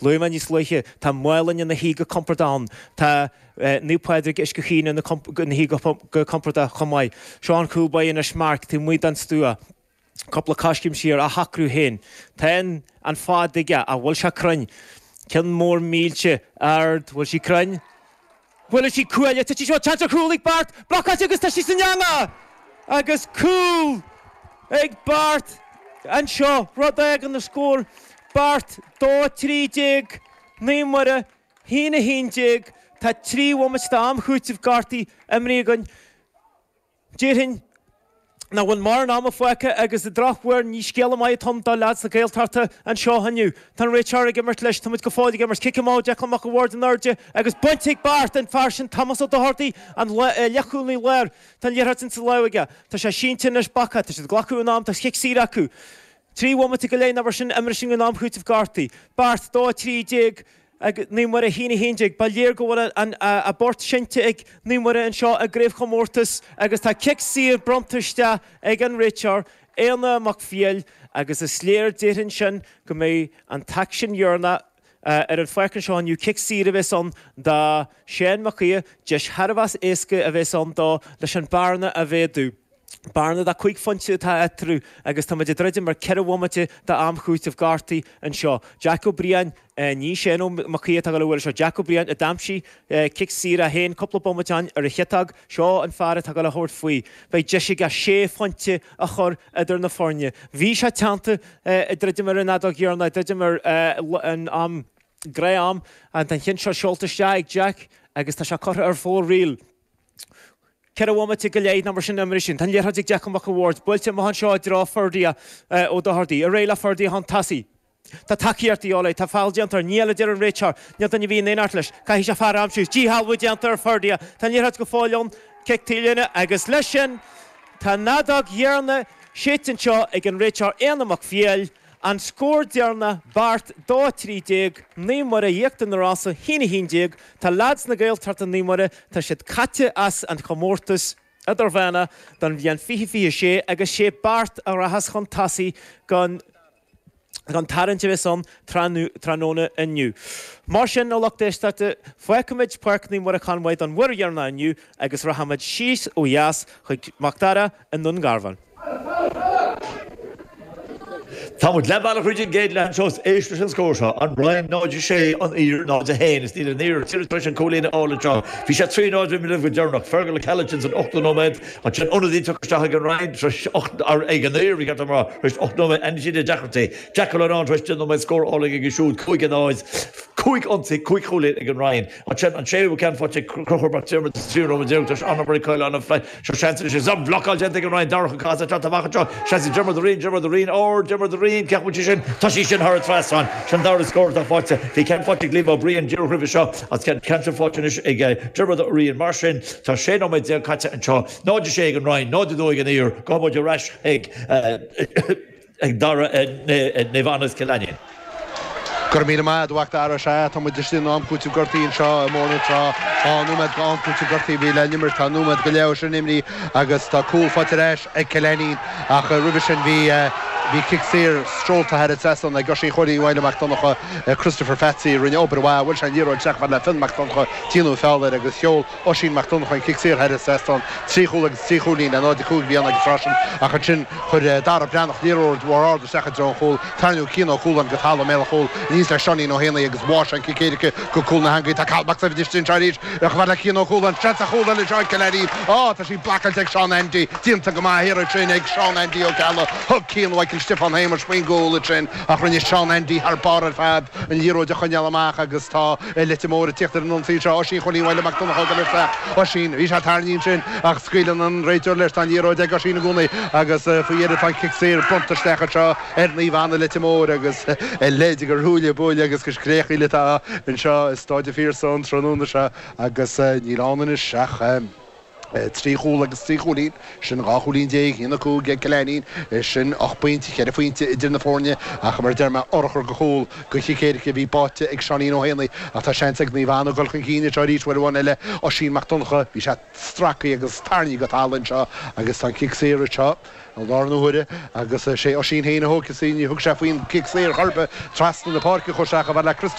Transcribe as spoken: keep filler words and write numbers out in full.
Luaigh mé níos luaithe, tá Málainn ina shuí go compordach ann, tá Naomh Pádraig Uisce Chaoin ina shuí go compordach chomh maith. Seo an cúl báire anois Mark taobh amuigh den stua. Cúpla coiscéim siar á shocrú féin. Tá an fad aige, ach bhfuil sé cruinn? Ceann mór millte ard, bhfuil sí cruinn? Bhuail sí cuaille, titfidh seo, seans ar chúl ag Bart, blocáilte agus tá sí san eangach! Agus cúl ag Bart anseo, rud a fhágann an scór, Bart dó trí déag, Naomh Muire haon a haon déag, tá trí bhomaite d'am chúitimh gortaithe imeartha againn. Déarfainn nach bhfuil mórán ama fágtha agus an drochuair ní scéala maith atá ann do leaids na Gaeltachta anseo inniu. Tá an réiteoir ag imirt leis, tá muid go fóill ag imirt. Cic amach Declan Mac an Bhaird in airde agus bainte ag Bart, an fear sin Tomás Ó Dochartaigh, an leathchúlaí láir. Tá an liathróid insa lámh aige. Tá sé sínte anois bactha. Tá siad ag glacadh an am, tá cic saor acu. Trí bhomaite go leith nó mar sin imeartha sin den am chúitimh gortaithe. Bart, dó trí déag. Ag Naomh Muire a haon a haon déag, ba léir go bhfuil a bport seinnte ag Naomh Muire anseo i gcraobhchomórtas agus tá cic saor bronnta isteach ag an réiteoir, Éanna Mac Fiail, agus is léir déarfainn sin go mbeidh an t-aicsean dheireanach ar an pháirc anseo inniu, cic saor a bheas ann do Sheán Mac Aodha, deis thar a bheas éasca a bheas ann dó leis an bearna a mhéadú. Bearna de cúig phointe atá eatarthu agus tá muid ag druidim ar ceithre bhomaite d'am chúitimh gortaithe anseo. Jack Ó Briain, ní Shane Ó Mac Aodha atá ag dul a bhualadh seo, Jack Ó Briain a d'aimsigh cic saor é féin cúpla bomaite ó shin ar an chiotóg, seo an fear atá ag dul a thabhairt faoi. Beidh deis aige sé phointe a chur idir na foirne. Bhí sé teannta ag druidim ar an fheadóg dheireanach, ag druidim ar an am, gnáth-am, an ceann seo seolta isteach ag Jack agus tá sé curtha ar fóraoil. Ceithre bhomaite go leith nó mar sin imeartha sin. Tá an liathróid ag Declan Mac an Bhaird. Buailte amach anseo i dtreo Ferdia Ó Dochartaigh. Ar aghaidh le Ferdia chun tosaigh. Tá tacaíocht de dhíobháil air. Tá feall déanta air. Níl, a deir an réiteoir. Níl duine ar bith in éineacht leis. Caithfidh sé fear a aimsiú. Díshealbhú déanta ar Ferdia. Tá an liathróid go fóill ann. Cic taobhlíne agus leis sin tá an fheadóg dheireanach séidte anseo ag an réiteoir Éanna Mac Fiail. An scór deireanach, Beart dó a trí déag, Naomh Muire Íochtar na Rosa haon a haon déag. Tá leaids na Gaeltachta Naomh Muire, tá siad caite as an chomórtas idirmheánach don bhliain fiche fiche a sé agus sé Beart a rachas chun tosaigh don don tarraingt a bheas ann tráthnóna inniu. Mar sin, a lucht éisteachta, fágfaimid Páirc Naomh Muire Conmhaigh don uair dheireanach inniu agus rachaimid síos ó dheas chuig Mac Dara i nDún Garbhán. Tá muid leath bealach thríd an gcéad leath anseo is éist leis an scór seo, An Rinn náid a sé, An Aoir náid a haon. Is níl an Aoir tar éis an cúilín a fháil anseo. Bhí sé trí náid roimh go deireanach. Fergal Ó Ceallaigh san ochtú nóiméad. Ansin ionadaí tugtha isteach ag an Rinn tar éis ocht, ag an Aoir, ba cheart dom a rá, tar éis ocht nóiméad. Ainmnigh siad deacrachtaí. Jack Ó Leannáin tar éis deich nóiméad scór álainn aige siúd, cúig a náid, cúig ionsaí, cúig chúilín ag an Rinn. Ansin an séú ceann faighte ag Conchúr Mac Diarmada sa tríú nóiméad déag tar éis an-obair ag Caolán Ó Flaith. Seo seans anois agus an bhlocáil déanta ag an Rinn, Darach Ó Cathasaigh ag teacht amach anseo, seans ag Diarmuid Ó Riain, Diarmuid Ó Riain, ard, Diarmuid Ó Riain, cén chaoi a bhfuil sí sin? Tá sí sin thar an trasnán. Sin an dara scór atá faighte. Bhí ceann faighte ag Liam Ó Briain díreach roimhe seo agus ceann sin faighte anois ag Diarmuid Ó Riain. Mar sin, tá sé nóiméad déag caite anseo, náid a sé ag an Rinn, náid a dó ag an Aoir. Gabhfaidh muid ar ais ag. ag Dara Naomh Anna is Cill Ainnín. Go raibh míle maith a'd, a Mhac Dara. Sea, tá muid istigh in am cúitimh gortaithe anseo i mBóthar na Trá. Dhá nóiméad d'am cúitimh gortaithe a bhí le n-imirt. Tá nóiméad go leith ó sin imrithe agus tá cúl faighte ar ais ag Cill Ainnín ach roimhe sin bhí bhí cic saor seolta thar an trasnán ag Oisín Chóilín Mhaidhle Mac Donncha. Christopher Phatsy a rinne obair mhaith. Bhuail sé an liathróid isteach fad le Fionn Mac Donncha, déanadh feall air agus sheol Oisín Mac Donncha an cic saor thar an trasnán, trí chúl agus trí chúilín le náid a cúig a bhí ann ag an tráth sin ach ansin chuir Dara Breathnach liathróid mhór ard isteach i dtreo an chúil, tarraingíodh Cian Ó Cualáin go talamh i mbéal an chúil aníos le Seáinín Ó hÉanaí agus bháigh sé an cic éirice go cúl na heangaí. Tá Cathal Mac Daibhid istigh anseo arís chomh fada le Cian Ó Cualáin, seans ar chúl eile anseo ag Cill Ainnín. Á, tá sí blocáilte ag Seán Andy, déanta go maith thiar ansin ag Seán Andy Ó Ceallaigh. Thug Cian Mhichael Stiofán Shéamais faoin gcúl ansin ach rinne Seán Andy thar barr ar fad an liathróid a choinneáil amach agus tá Leitir Móir ag tíocht ar an ionsaí seo. Oisín Chóilín Mhaidhle Mac Donncha ag dul isteach. Oisín, bhí sé tarraingthe ansin ach scaoileann an réiteoir leis. Tá an liathróid ag Oisín i gcónaí agus faoi dheireadh tá an cic saor bronnta isteach anseo ar Naomh Anna Leitir Móir agus a leithéid de ruaille buaille agus de scréachaíl atá anseo i Stáid an Phiarsaigh an tráthnóna seo agus níl ann anois ach trí chúl agus trí chúilín, sin dhá chúilín déag, a haon a cúig ag Cill Ainnín, sin ocht bpointe, ceithre phointe idir na foirne ach mar a deir mé, urchar de chúl de chic éirice a bhí báite ag Seáinín Ó hÉanaí ach tá seans ag Naomh Anna dul chun cinn anseo arís uair amháin eile, Oisín Mac Donncha, bhí sé stractha agus tarraingthe go talamh anseo agus tá an cic saor anseo i láthair na huaire agus sé Oisín féin a thógfas í, ní thug sé faoin gcic saor chor ar bith trasna na páirce, chuir sé chomh fada le Christopher.